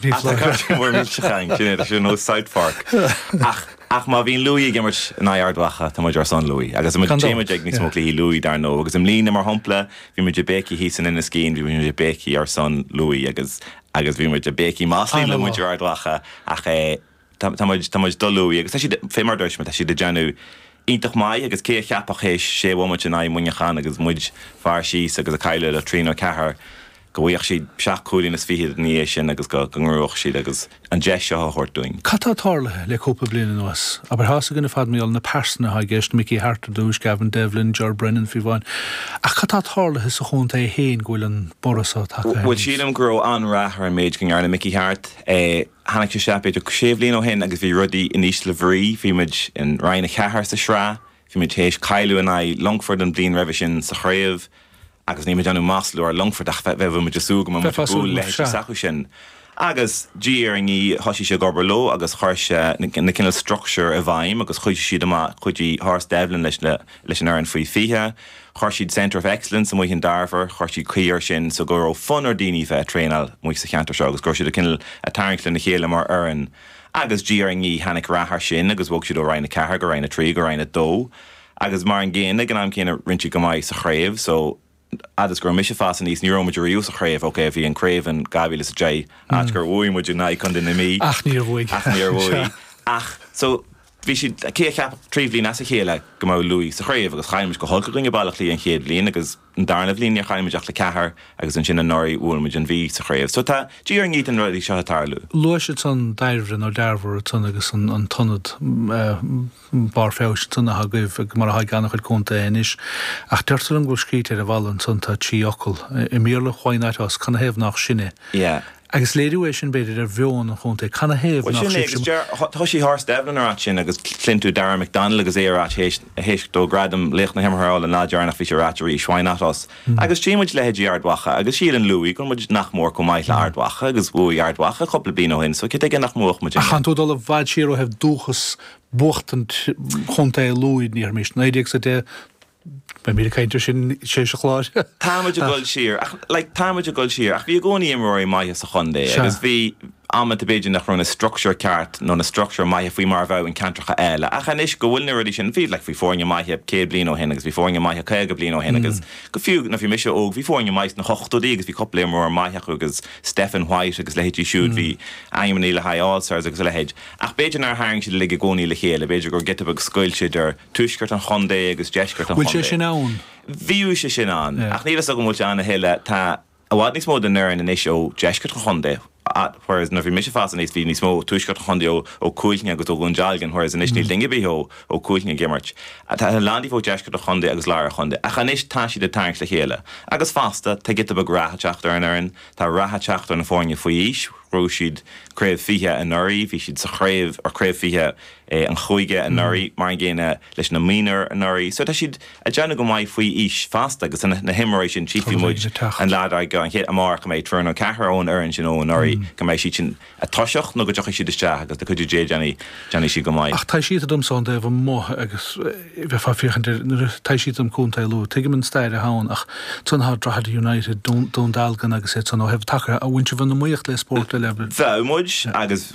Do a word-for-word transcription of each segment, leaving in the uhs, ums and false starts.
Ach tá cairtín mór millteach ann, sin é, tá sé nós South Park. Ach ach má bhíonn Lú ag imirt in aghaidh Ard Mhacha, tá muid ar son Lú. Agus muid Gan dabht, téimid ag níos mó cluichí Lú dar ndóigh, agus i mbliana mar shampla, bhí muid ag béicíl thíos in Inis Caoin, bhí muid ag béicíl ar son Lú agus agus bhí muid ag béicíl maslaí le An-mhaith. muintir Ard Mhacha ach eh, tá tá muid tá muid do Lú agus tá siad fé mar dúirt mé, tá siad ag déanamh iontach maith agus cé a cheapfadh théis sé bhomaite in aghaidh Muineachán agus muid fear síos agus ag cailleadh le trí nó ceathair go bhfaigheadh siad seacht cúilín is fiche ina dhiaidh sin agus go go ngnóthódh siad agus an deis seo a thabhairt dúinn. Cad tá tarlaithe le cúpla bliain anuas, abair tá a fhios againn ar fad mar gheall na pearsana atá i gceist Mickey Harte ar dtús, Gavin Devlin, Ger Brennan fiú amháin. Ach cad tá tarlaithe sa chontae féin go bhfuil an borradh seo tagtha Bhuel sílim go raibh an-rath ar an méid go ndearna Mickey Harte eh, tháinig sé isteach b'fhéidir sé bhliain ó shin agus bhí rudaí in ísle brí, bhí muid in Roinn a ceathair sa sraith, bhí muid théis cailleadh in aghaidh Longford an bliain roimhe sin sa chraobh, agus ní déanamh masla ar Longford ach bheith muid ag súil go Bheifeá búil súil le sea. s'acu sin. Agus diaidh ar ndiaidh thosaigh sé ag obair leo agus chuir sé na na cineál structure i bhfeidhm agus chuidigh siad amach chuidigh Horace Devlin leis na leis an fhoireann faoi fiche, chuir siad Centre of Excellence amuigh in Dairbhre, chuir siad caoi air sin so go raibh fonn ar daoine bheith ag traenáil amuigh sa cheantar seo agus go raibh siad ag cineál ag tarraingt lena chéile mar fhoireann. Agus diaidh ar ndiaidh tháinig rath air sin agus bhog siad ó Roinn a ceathair go Roinn a trí go Roinn a dó. Agus mar an gcéanna ag an am céanna rinne siad go maith sa chraobh, so agus gur mise fás aníos ní raibh muid riamh sa chraobh, ok bhí an craobh in dhá mhíle is a deich áit gur bhuaigh muid in aghaidh Contae na Mí. Ach níor bhuaigh. Ach níor bhuaigh. Ach so bhí siad cé a cheap trí bhliain as a chéile go mbeadh Lú sa chraobh agus chaill muid go holc i gcoinne Baile Átha Cliath an chéad bhliain agus an darna bhliain níor chaill muid ach le ceathair agus ansin anuraidh bhuail muid an Mhí sa chraobh. So tá diaidh ar ndiaidh na rudaí seo ag tarlú. Luaigh siad san Dairbhre nó Dearbhar san agus an, an t-ionad barr feabhais san atá agaibh ag mar atá ag an-chuid contaetha anois. Ach deirtear liom go bhfuil scríte ar an bhalla ansan tá trí fhocal i mBéarla why not us canathaobh nach sinne. Yeah. Agus léiriú é sin b'fhéidir ar mheon an chontae canathaobh Well nach sin é sibh agus deir thosaigh Horace Devlin ar sin agus cluin tú Darragh McDonald agus é ar théis théis dó gradam laoch na himeartha an lá deireanach bhí sé ag rá arís why not us. Agus tchí muid leithéidí Ard Mhacha agus síleann Lú go muid nach mór chomh maith le Ard Mhacha agus bhuaigh Ard Mhacha cúpla bliain ó shin, so cé aige nach mbuafadh muid Ach chan tú dul i bhfad siar ó thaobh dúchas buachtaint chontae Lú ní mis naoi déag sa deich Beidh míle caint air sin sé sa chlár. Táimid ag dul siar ach like, táimid ag dul siar ach bhí i gcónaí imreoirí maithe sa chontae Sea. agus bhí amanta b'fhéidir nach raibh na structure ceart nó na structure maithe faoi mar a bheadh in ceantracha eile ach anois go bhfuil na rudaí sin bhí like, bhí foirne maithe céad bliain ó shin agus bhí foirne maithe caoga bliain ó shin agus go fiú na bhí mise óg bhí foirne maith sna hochtóidí agus bhí cúpla imreoir maith acu agus Stephen White agus leithéidí siúd bhí ainmní le haghaidh All-Stars agus a leithéid. Ach b'fhéidir nár tharraing siad uilig i gcónaí le chéile, b'fhéidir gur giota beag scoilt idir tuaisceart an chontae agus deisceart an Bhfuil sé chontae. sin ann? Bhíodh sé sin ann Yeah. ach níl a fhios agam bhfuil sé ann a thuilleadh tá i bhfad níos mó den fhoireann anois ó deisceart an chontae whereas nuair bhí mise ag fás aníos bhí níos mó tuaisceart an chontae ó ó Cúilfhionn agus ó Dhún Dealgan whereas anois níl duine ar bith ó ó Cúilfhionn ag imirt. Tá a lán díobh ó deisceart an chontae agus lár an chontae ach anois tá siad ag tarraingt le chéile. Agus fosta tá giota beag rath ag teacht ar an fhoireann, tá rath ag teacht ar na foirne faoi aois, bhuaigh siad craobh fiche anuraidh, bhí siad sa chraobh ar craobh fiche eh, an chúige anuraidh mar an gcéanna leis na mionúir anuraidh. So tá siad ag déanamh go maith faoi aois fosta agus na, na himreoirí sin tchífidh muid ag teacht. an lá dar gcionn an chéad amárach go mbeidh triúr nó ceathrar ón fhoireann sin ó anuraidh go mbeidh siad sin ag toiseacht nó go dtiocfaidh siad isteach agus le cuidiú Dé déanfaidh déanfaidh siad go maith. Ach tá siad dom son taobh amuigh agus bheith fá féachaint ar nuair tá siad dom contae Lú tuigim an stair atá ann ach tún há Drogheda United Dún Dún Dealgan agus é san ó thaobh taca a bhain sibh an iomaíocht le spórt eile. Bheadh muid agus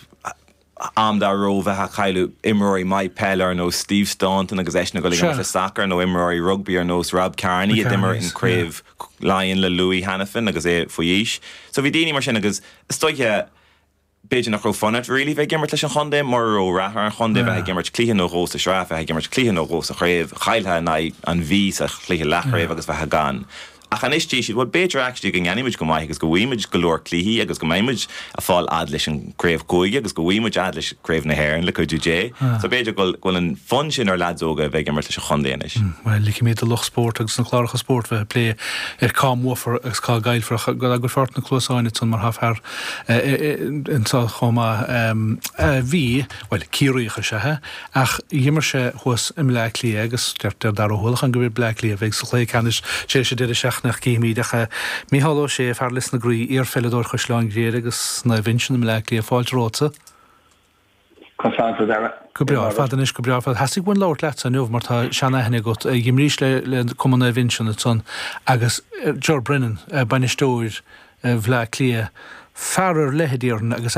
am dá raibh bheith ag cailleadh imreoirí maith peile ar nós Steve Staunton agus eisean ag dul ag Sure. imirt le soccer nó imreoirí rugby ar nós Rob Kearney a d'imir Kearneys, in craobh Laighean le Louis Hanafin agus é faoi aois. So bhí daoine mar sin agus is dóiche b'fhéidir nach raibh fonn really bheith ag imirt leis an chontae mar raibh rath ar an chontae bheith ag imirt cluiche nó dhó sa sraith bheith ag imirt cluiche nó dhó sa chraobh chaillfeá in aghaidh an Mhí sa chluiche leathchraobh agus bheith gan. Ach anois dúirt siad well b'fhéidir actually go ndéanfaimid go maith agus go bhfaighimid go leor cluichí agus go mbeimid ag fáil fhad leis an craobh cúige agus go bhfaighimid fhad leis craobh na hÉireann le cuidiú Dé. So b'fhéidir go bhfuil an fonn sin ar lads óga bheith ag imirt leis an chontae anois. Well ligfimid do lucht spóirt agus na cláracha spóirt bheith plé ar cá mbuafar agus cá gcaillfear go go feart na cluasáin san mar thá fear anseo chomh maith bhí well Ciarraíoch is ea ach d'imir sé thuas i mBleá Cliath agus deir Dara Hualachan go bhfuil Bleá Cliath bheidh sa chluiche ceannais sé sé deireadh seachtaine címid ach Mícheál Ó Sé fear Lios na Graí iarpheileadóir Chaisleán Ghriaire agus Naomh Uinseann i mBleá Cliath fáilte romhatsa. Constanta Dara. Go breá fad anois go breá fad Theastaigh uainn labhairt leatsa inniu mar tá seanaithne agat d'imrís le le Cumann Naomh Uinseann san agus Ger Brennan bainisteoir Bhleá Cliath Fear ar leith déarfainn agus